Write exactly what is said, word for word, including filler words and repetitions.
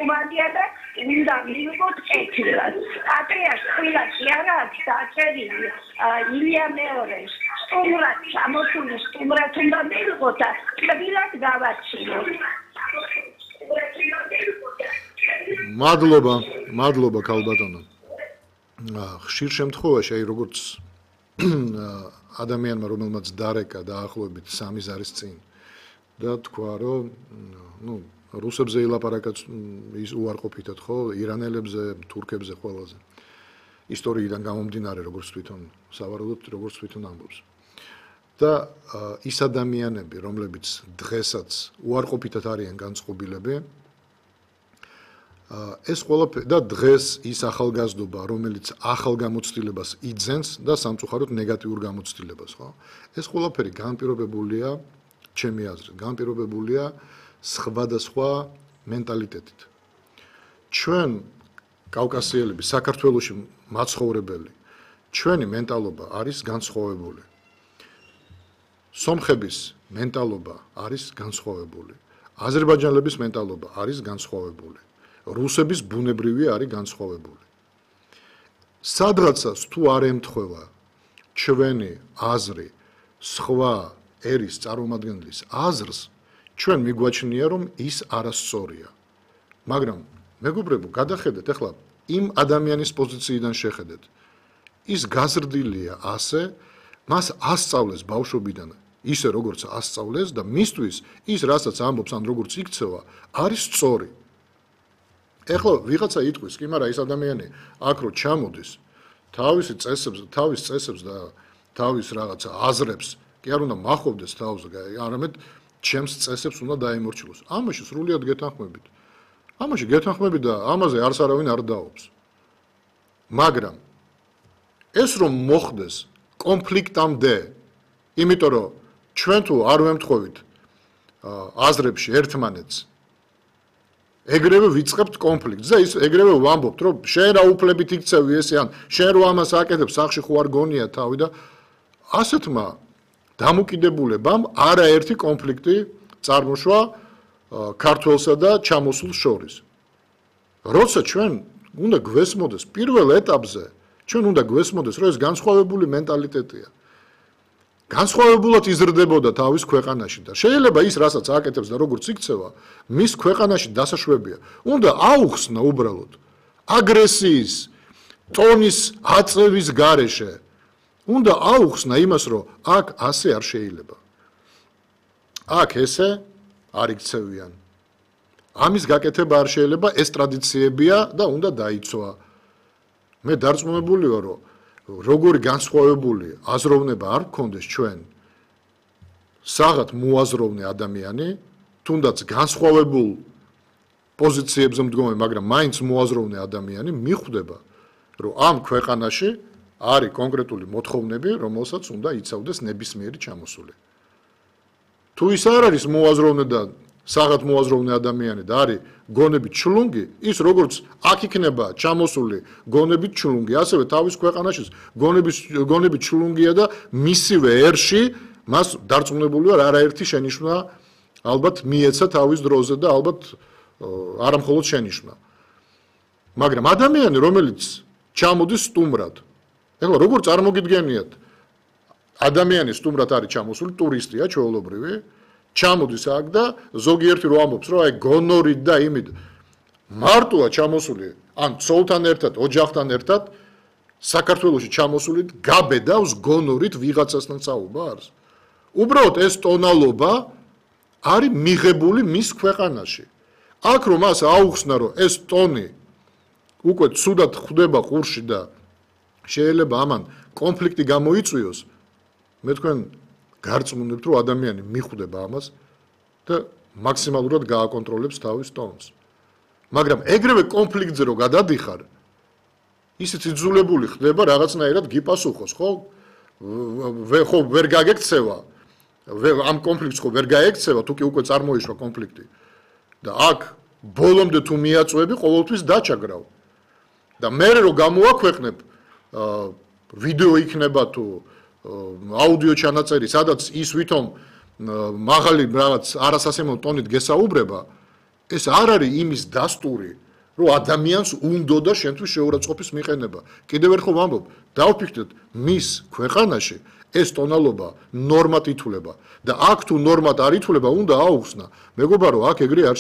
ნორმალია და უნდა მივიღოთ კეთილად. პატრიარქ ყვილას არა აქვს დაწერილი ილია მეორე სტუმრად ჩამოსული სტუმრად უნდა მივიღოთ და ყვილად გავაჩინოთ. მადლობა, მადლობა ქალბატონო. ხშირ შემთხვევაში აი როგორც ადამიანმა რომელმაც დარეკა დაახლოებით სამი ზარის წინ და თქვა რომ ნუ რუსებზე ილაპარაკა ის უარყოფითად ხო ირანელებზე, თურქებზე ყველაზე ისტორიიდან გამომდინარე როგორც თვითონ სავარაუდოდ როგორც თვითონ ამბობს. და ის ადამიანები რომლებიც დღესაც უარყოფითად არიან განწყობილები ეს ყველაფერი და დღეს ის ახალგაზრდობა რომელიც ახალ გამოცდილებას იძენს და სამწუხაროდ ნეგატიურ გამოცდილებას ხო ეს ყველაფერი განპირობებულია ჩემი აზრით განპირობებულია სხვადასხვა მენტალიტეტით ჩვენ კავკასიელები საქართველოში მაცხოვრებელი ჩვენი მენტალობა არის განსხვავებული სომხების მენტალობა არის განსხვავებული აზერბაიჯანელების მენტალობა არის განსხვავებული რუსების ბუნებრივი არის განსხვავებული. სადღაცას თუ არ ემთხვევა ჩვენი აზრი სხვა ერის წარმომადგენლის აზრს, ჩვენ მიგვაჩნია რომ ის არასწორია. მაგრამ მეგობრებო, გადახედეთ ახლა იმ ადამიანის პოზიციიდან შეხედეთ. ის გაზრდილია ასე, მას ასწავლეს ბავშვობიდან ისე როგორც ასწავლეს და მისთვის ის რასაც ამბობს ან როგორც იქცევა, არის სწორი. ეხლა ვიღაცა იტყვის, კი, მაგრამ ის ადამიანი აქ რო ჩამოდის, თავისი წესებს, თავის წესებს და თავის რაღაცა აზრებს, კი არ უნდა მახობდეს თავს, არამედ ჩემს წესებს უნდა დაემორჩილოს. ამაში სრულიად გეთანხმებით. ამაში გეთანხმებით და ამაზე არც არავინ არ დაობს. მაგრამ ეს რომ მოხდეს კონფლიქტამდე, იმიტომ რომ ჩვენ თუ არ ვემთხვევით აზრებში ერთმანეთს ეგრევე ვიწყებთ კონფლიქტს და ის ეგრევე ვამბობთ რომ შენ რა უფლებით იქცევი ესე ან შენ რო ამას აკეთებ სახში ხო არ გონია თავი და ასეთმა დამოკიდებულებამ არაერთი კონფლიქტი წარმოშვა ქართველსა და ჩამოსულს შორის. როცა ჩვენ უნდა გვესმოდეს პირველ ეტაპზე ჩვენ უნდა გვესმოდეს რომ ეს განსხვავებული მენტალიტეტია. განსხვავებულად იზრდებოდა თავის ქვეყანაში და შეიძლება ის რასაც აკეთებს და როგორც იქცევა მის ქვეყანაში დასაშვებია უნდა აუხსნა უბრალოდ აგრესიის ტონის აწევის გარეშე უნდა აუხსნა იმას რომ აქ ასე არ შეიძლება აქ ესე არ იქცევიან ამის გაკეთება არ შეიძლება ეს ტრადიციებია და უნდა დაიცვა მე დარწმუნებული ვარ რომ როგორი განსხვავებული აზროვნება არ გქონდეს ჩვენ საღად მოაზროვნე ადამიანი თუნდაც განსხვავებულ პოზიციებზე მდგომი მაგრამ მაინც მოაზროვნე ადამიანი მიხვდება რომ ამ ქვეყანაში არის კონკრეტული მოთხოვნები რომელსაც უნდა იცავდეს ნებისმიერი ჩამოსული თუ ის არ არის მოაზროვნე და საღად მოაზროვნე ადამიანი და არის გონებით ჩლუნგი ის როგორც აქ იქნება ჩამოსული გონებით ჩლუნგი ასევე თავის ქვეყანაში გონების გონებით ჩლუნგია და მისივე ერში მას დარწმუნებული ვარ არაერთი შენიშვნა ალბათ მიეცა თავის დროზე და ალბათ არა მხოლოდ შენიშვნა მაგრამ ადამიანი რომელიც ჩამოდის სტუმრად ეხლა როგორ წარმოგიდგენიათ ადამიანი სტუმრად არის ჩამოსული ტურისტია ჩვეულებრივი ჩამოდის აქ და ზოგიერთი რო ამბობს რომ აი გონორით და იმით მარტოა ჩამოსული ან ცოლთან ერთად ოჯახთან ერთად საქართველოში ჩამოსული გაბედავს გონორით ვიღაცასთან საუბარს უბრალოდ ეს ტონალობა არის მიღებული მის ქვეყანაში აქ რომ მას აუხსნა რომ ეს ტონი უკვე ცუდად ხვდება ყურში და შეიძლება ამან კონფლიქტი გამოიწვიოს მე თქვენ გარწმუნებთ რომ ადამიანი მიხვდება ამას და მაქსიმალურად გააკონტროლებს თავის ტონს მაგრამ ეგრევე კონფლიქტზე რო გადადიხარ ისიც იძულებული ხდება რაღაცნაირად გიპასუხოს ხო ხო ვერ გაგექცევა ამ კონფლიქტს ხო ვერ გაექცევა თუ კი უკვე წარმოიშვა კონფლიქტი და აქ ბოლომდე თუ მიაწვევი ყოველთვის დაჩაგრავ და მე რო გამოაქვეყნებ ვიდეო იქნება თუ აუდიო ჩანაწერი, სადაც ის ვითომ მაღალი რაღაც არასასიამოვნო ტონით გესაუბრება, ეს არ არის იმის დასტური, რომ ადამიანს უნდოდა შენთვის შეურაცხყოფის მიყენება. კიდევ ერთხელ ვამბობ, დავფიქრდეთ, მის ქვეყანაში ეს ტონალობა ნორმად ითვლება და აქ თუ ნორმად არ ითვლება, უნდა აუხსნა. მეგობრებო, აქ ეგრე არ